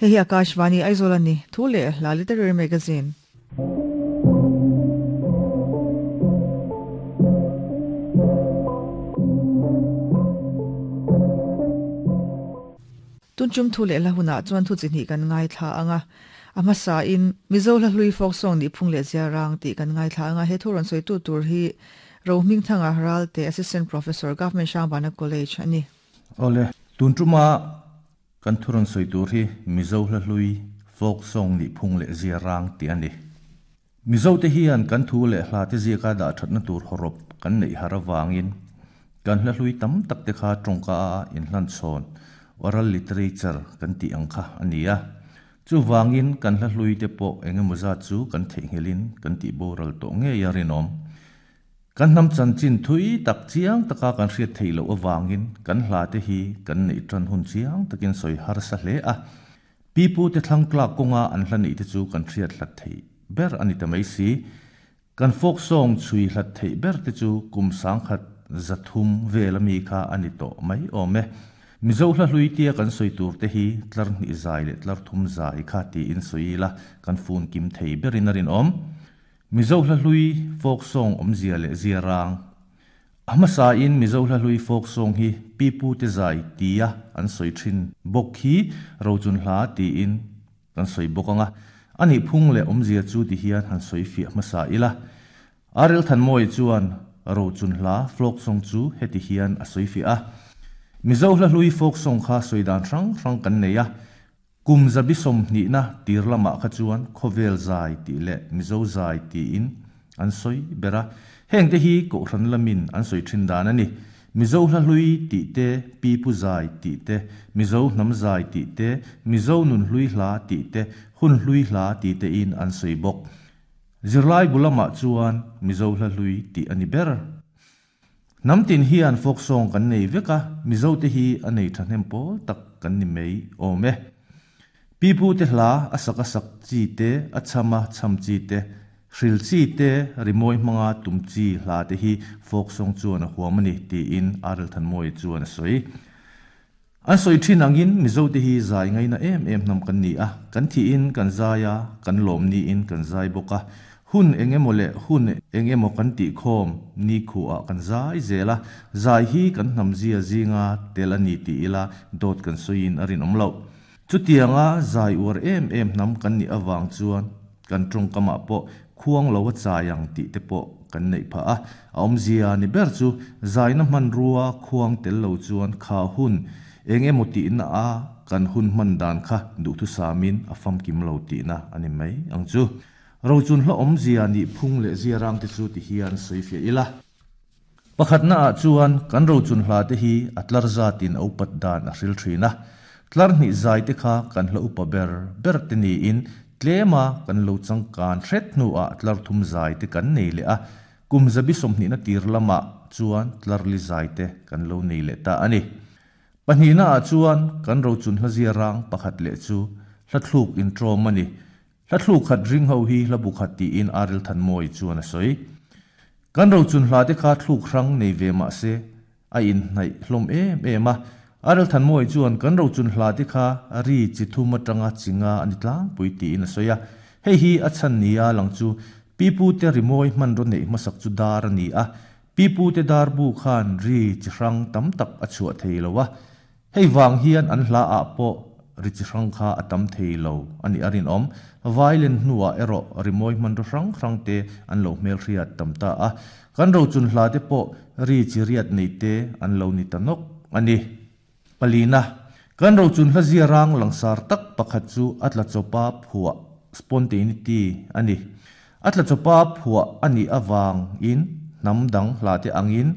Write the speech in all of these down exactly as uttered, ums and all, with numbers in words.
Hei hi Akashvani Aizawl a ni, thu leh hla literary magazine. Tun tum thu leh hla hunah chuan thu chi hnih kan ngaithla ang a, a hmasa in Mizo hla hlui folk song nih phung leh zia rang tih kan ngaithla ang a, he thu rawn sawi tu tur hi Rohmingthanga Ralte Assistant Professor Government Hrangbana College a ni. Awle, tun tuma kan thu rawn sawi tur hi Mizo hla hlui folk song nih phung leh zia rang tih a ni. Mizo te hian kan thu leh hla te ziaka dah thatna tur hawrawp kan neih har avangin kan hla hlui tam tak te kha tawngka a inhlan chhawn oral literature kan tih ang kha a ni a. Chuvangin kan hla hlui te pawh engemaw zat chu kan theihnghilhin kan tih boral tawh ngei a rinawm. Kan hnam chanchin thui tak chiang taka kan hriat theih loh avangin kan hla te hi kan neih tan hun chiang takin sawi harsa hle a. Pipu te thlang tlak kawnga an hla neih te chu kan hriat hlat theih ber a ni ta mai si. Kan folk song chhui hlat theih ber te chu kum sangkhat zathum vel ami kha a ni tawh mai awm e. Mizo hla hlui tia kan sawi tur te hi tlar hnih zai leh tlar thum zai kha tiin sawi ila kan fun kim thei berin a rinawm. Mizo hla hlui folk song awmzia leh zia rang. A hmasa in Mizo hla hlui folk song hi pipu te zai tia an sawi thin bawk hi rochun hla tiin kan sawi bawk anga. Ani phung leh awmzia chu ti hian han sawi fiah hmasa ila. Arel Thanmawi chuan rochun hla folk song chu heti hian a sawi fiah a. Mizo hla hlui folk song kha sawi dan hrang hrang kan nei a. Kum zabi sawmhnih na tir lamah kha chuan khawvel zai tih leh Mizo zai tiin an sawi ber a. Heng te hi kohhran lamin an sawi thin dan a ni. Mizo hla hlui tih te, pipu zai tih te, Mizo hnam zai tih te, Mizo nun hlui hla tih te, hun hlui hla tih te in an sawi bawk. Zirlai bu lamah chuan Mizo hla hlui tih a ni ber. Hnam tin hian folk song kan nei vek a, Mizo te hi a nei thahnem pawl tak kan ni mai awm e. Pipu te hla a sak a sak chi te, a cham a cham chi te, hril chi te, rimawi hmanga tum chi hla te hi folk song chuan a huam a ni tiin Arel Thanmawi chuan a sawi. An sawi thin angin Mizo te hi zai ngaina em em hnam kan ni a, kan thiin kan zai a, kan lawm niin kan zai bawk a. Hun engemaw leh hun engemaw kan tih khawm ni khuah kan zai zel a, zai hi kan hnam zia zinga tel a ni tih ila dawt kan sawiin a rinawm loh. Chutianga zai uar em em hnam kan nih avang chuan kan tawngkamah pawh khuang lo a chai ang tih te pawh kan neih phah a. A awmzia ni ber chu zaina hman rua khuang tel lo chuan kha hun engemaw tihna a kan hun hman dan kha duhthu samin a famkim lo tihna a ni mai ang chu. Rochun hla awmzia nih phung leh zia rang te chu ti hian sawi fiah ila. Pakhatna ah chuan kan rochun hla te hi a tlar zatin a upat dan a hril thin a. Tlar hnih zai te kha kan hla upa ber ber te niin tlema kan lo changkan hret hnuah tlar thum zai te kan nei leh a. Kum zabi sawmhnihna tir lamah chuan tlar li zai te kan lo nei leh ta a ni. Pahnihna ah chuan kan rochun hla zia rang pakhat leh chu hla thluk intrawm a ni. Hla thluk khat ring ho hi hla bu khat tiin Arel Thanmawi chuan a sawi. Kan rochun hla te kha thluk hrang nei ve mah se a inhnaih hlawm em em a. Arel Thanmawi chuan kan rochun hla te kha ri chi thum atanga chinga a ni tlangpui tiin a sawi a. Hei hi a chhan nia lang chu pipu te rimawi hman rawn neih hmasak chu dar a ni a. Pipu te dar bu khan ri chi hrang tam tak a chhuah thei lo a. Hei wang hian an hla ah pawh ri chi hrang kha a tam thei lo a ni a rinawm. Violin hnuah erawh rimawi hman ro hrang hrang te an lo hmel hriat tam ta a. Kan rochun hla te pawh ri chi riat nei te an lo ni ta nawk a ni. Palina, kan rochun hla zia rang langsar tak pakhat chu a tla chawpa phuah spontaneity a ni. A tla chawpa phuah a nih awang in hnam dang hla te angin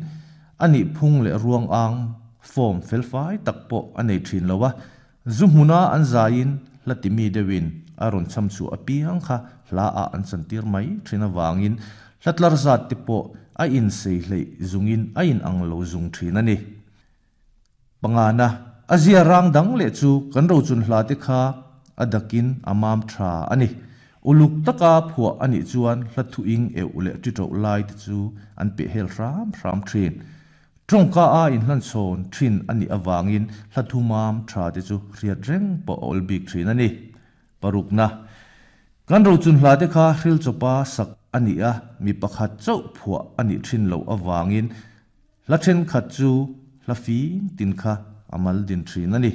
a nih phung leh ruang ang form felfai tak pawh a nei thin lo a. Zu hmuna an zaiin hla timi deuhin a rawn cham chu a piang kha hla ah an chantir mai thin awangin hla tlar zat te pawh a in sei hlei zungin a in ang lo zung thin a ni. Pangana, a zia rang dang leh chu kan rochun hla te kha a dakin a mam tha a ni. Uluk taka phuah a nih chuan hla thu ing eu leh ti tho lai te chu an pe hel hram hram thin. Tongka a in hlan chon thin ani awangin hlathumam tha te chu riat reng po ol bik thin ani. Parukna kan ro chun hla te kha hril chopa sak ani a mi pakhat chau phua ani thin lo awangin hla then khat chu hla fing tin kha amal din thin ani.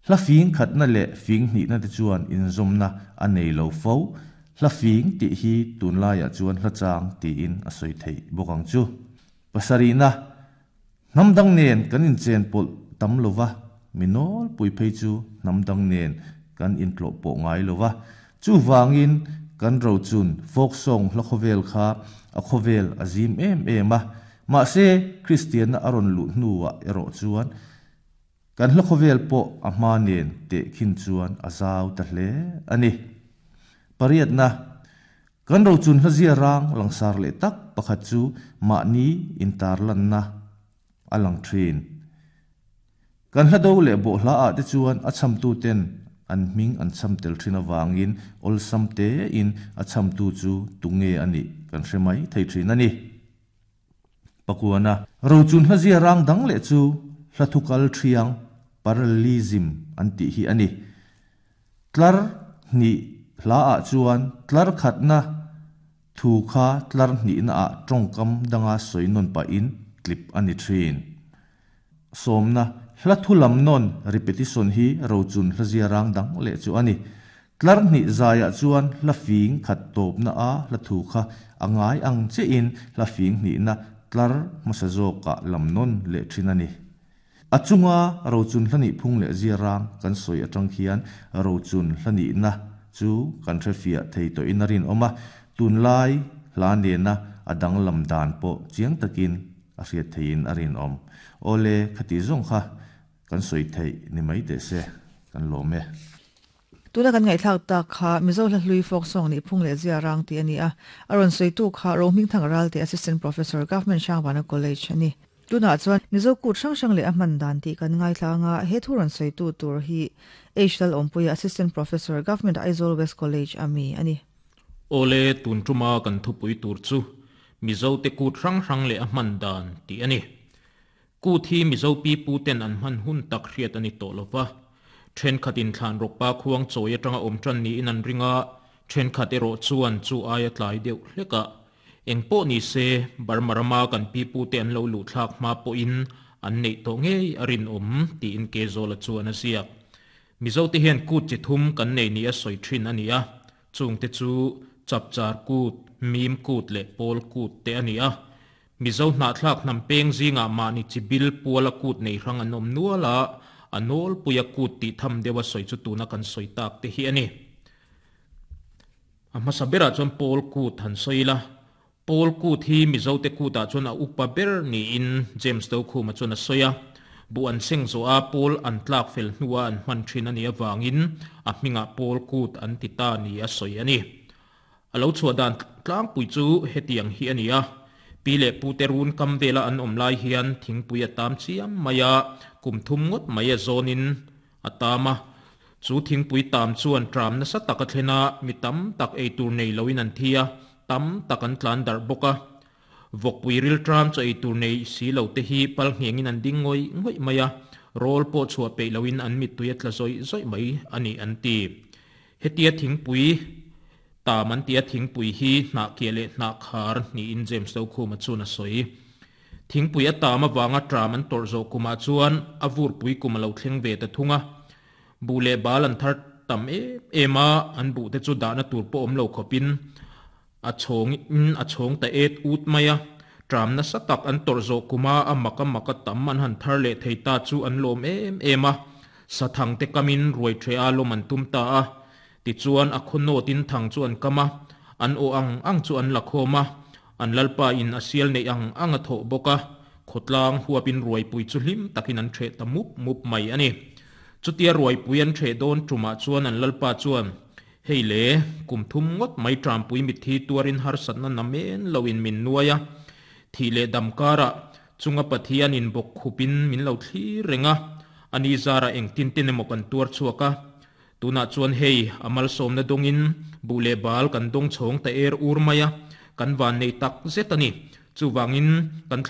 Hla fing khat na le fing ni na te chuan in zom na anei lo fo. Hla fing ti hi tun laia chuan hla chang ti in a soi thei bokang chu. Pasarina namdang nen kan in chen pol tam lova minol pui phei chu namdang nen kan in tlo po ngai lova chu wangin kan ro chun folk song hla khovel kha a khovel azim em em a ma se Christian na aron lu nuwa ero chuan kan hla khovel po a ma nen te khin chuan azau ta hle ani. Pariat na kan ro chun hla zia rang langsar le tak pakhat chu ma ni intar lan na alang thin. Kan hla do le bo hla a te chuan a cham tu ten an ming an cham tel thin awangin ol sam te in a cham tu chu tunge ani kan hremai thei thin ani. Pakuana ro chun hla zia rang dang le chu hla thukal thiang parallelism an ti hi ani. Tlar ni hla a chuan tlar khat na thu kha tlar ni na a tongkam danga soinon pa in clip ani thin. Somna hla thulam non repetition hi ro chun hla zia rang dang le chu ani. Tlar ni zaya chuan hla fing khat top na a hla thu kha angai ang che in hla fing ni na tlar masazo ka lam non le thin ani. Achunga ro chun hla ni phung le zia rang kan soi atang khian ro chun hla ni na chu kan thefia thei to inarin oma tun lai hla ne na adang lam dan po chiang takin a hriat theiin arin om. Ole khati zong kha kan soi thei ni mai te se kan lo me. Tuna kan ngai thak ta kha Mizo hla hlui folk song ni phung le zia rang ti ani a aron soi tu kha Rohming Thang Ral te assistant professor Government Shangbana College ani. Tuna chuan Mizo kut sang sang le a man dan ti kan ngai thlanga he thuron soi tu tur hi H L Ompuia assistant professor Government Aizawl West College ami ani. Ole tun tuma kan thupui tur chu Mizo te kut rang rang le a man dan ti ani. Ku thi Mizo pi pu ten an man hun tak hriat ani to lova. Then khatin thlan rok pa khuang choi atanga om tran ni in an ringa then khat ero chuan chu aia tlai deuh hleka engpo ni se barmarama kan pi pu te an lo lu thlak ma po in an nei to ngei arin om ti in ke zola chuan asia. Mizo te hian kut chi thum kan nei ni a soi thin ani a chung te chu chapchar kut mim kut le pol kut te ani a. Mizo hna thlak nam peng zinga ma ni chibil puala kut nei rang an om nuala anol puya kut ti tham dewa soi chu tuna kan soi tak te hi ani. A hmasa bera chuan pol kut han soila. Pol kut hi Mizo te kuta chuan a upa ber ni in James do khuma chuan a soya. Bu an seng zo a pol an tlak fel hnuwa an hman thin ani awangin a hminga pol kut an ti ta ni a soi ani. Alo chua dan tlang pui chu hetiang hi ani a. Pi le pu te run kam vela an om lai hian thingpui a tam chiam maya kum thum ngot maya zonin atama chu thingpui tam chuan tram na sa taka thlena mi tam tak ei tur nei loin an thia tam tak an tlan dar boka vokpui ril tram chu ei tur nei si lo te hi pal ngengin an ding ngoi ngoi maya rol po chua pe loin an mit tuya tla zoi zoi mai ani an ti hetia thingpui ta man tia thingpui hi hna ke le hna khar ni in James do khuma chuna soi thingpui a ta ma wanga tram an tor zo kuma chuan avur pui kuma lo thleng ve ta thunga bu le bal an thar tam e ema an bu te chu da na tur po om lo khopin a chong in a chong ta et ut maya tram na satak an tor zo kuma a maka maka tam an han thar le theita chu an lom em ema sathang te kamin ruai thre a lom an tum ta a ti chuan a khono tin thang chu an kama an o ang ang chu an lakhoma an lalpa in asial nei ang ang a tho boka khotlang huapin ruai pui chu hlim takin an the ta mup mup mai ani chutia ruai pui an the don tuma chuan an lalpa chuan hei le kum thum ngot mai tram pui mi thi tuarin har satna namen loin min nuaya thi le damkara chunga pathian in bok khupin min lo thli renga ani zara eng tin tin emaw kan tuar chuaka tuna chuan hei amal somna dongin bule bal kan dong chhong ta er ur maya kan van nei tak zetani chuwangin kan